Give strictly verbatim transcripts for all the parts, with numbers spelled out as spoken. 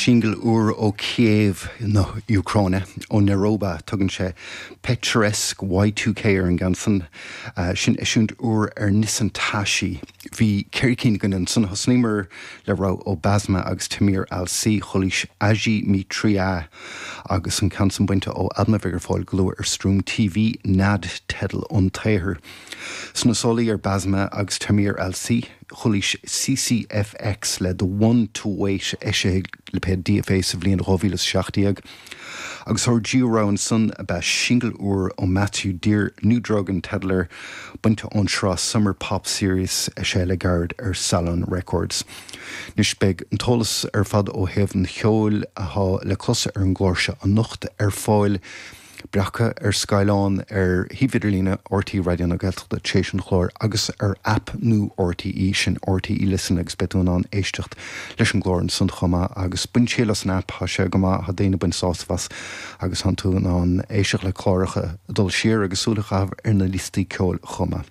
Singil úr ó Kiev na Úcráine ó Neroba tugann sé Picturesque Y two K ar an gceann san sin eisiúint úr ar Nisantasi. Bhí ceithre cinn againn ansan thosnaíomar le rogha ó Basma agus Tamir Al-Si chualaís Aji Mitria agus an ceann san bainte ó albam a bheidh ar fáil go luath ar Stream T V Nad teideal an tsaothair. Sna sálaí ar Basma agus Tamir Al-Si chualaís C C F X le The One to Wait eisithe lipéad D F A sa bhliain dhá mhíle is seacht déag. Agus ár dtríú rogha ansan ab ea singil úr ó Matthew Dear New Drug an teideal air bainte ón sraith Summer Pop Series eisithe le gairid ar Salon Records. Anois beidh an t-eolas ar fad ó thaobh an cheoil atá le clos ar an gclár seo anocht ar fáil breactha ar scáileán ar shuíomh idirlíne R T Raidió na Gaeltachta tar éis an chláir agus ar aip nua R T E sin R T E Listen agus beidh tú in ann éisteacht leis an gclár ansan chomh maith agus bain triail as an aip, tá sé go maith, tá daoine ag baint sásamh as agus tá tú in ann éisteacht le cláracha ag dul siar agus súil a chaitheamh ar na liostaí ceoil chomh maith.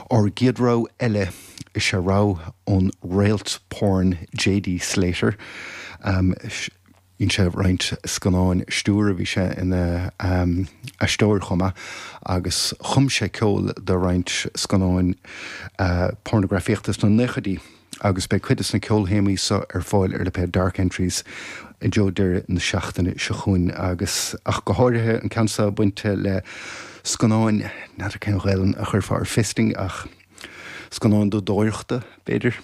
Ár gcéad rogha eile is ea rogha ón réalt porn J D Slater. Um, Bhí sé roinnt scannáin stiúir a bhí sé ina, um, aisteoir chomh maith agus chum sé ceol do roinnt scannáin, uh, pornagrafaíochta sna naochaidí agus beidh cuid de na ceolthéamaí seo ar fáil ar lipéad Dark Entries i dtreo deireadh na seachtaine seo chugainn agus ach go háirithe an ceann seo bainte le scannáin n'fheadar cén Ghaelainn a chuirfeá ar fisting ach scannáin dúdóireachta b'fhéidir.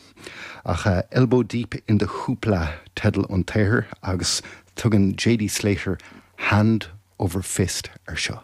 Ach, uh, Elbow Deep in the Hoopla teideal an tsaothair agus tugann J D Slater Hand Over Fist ar seo.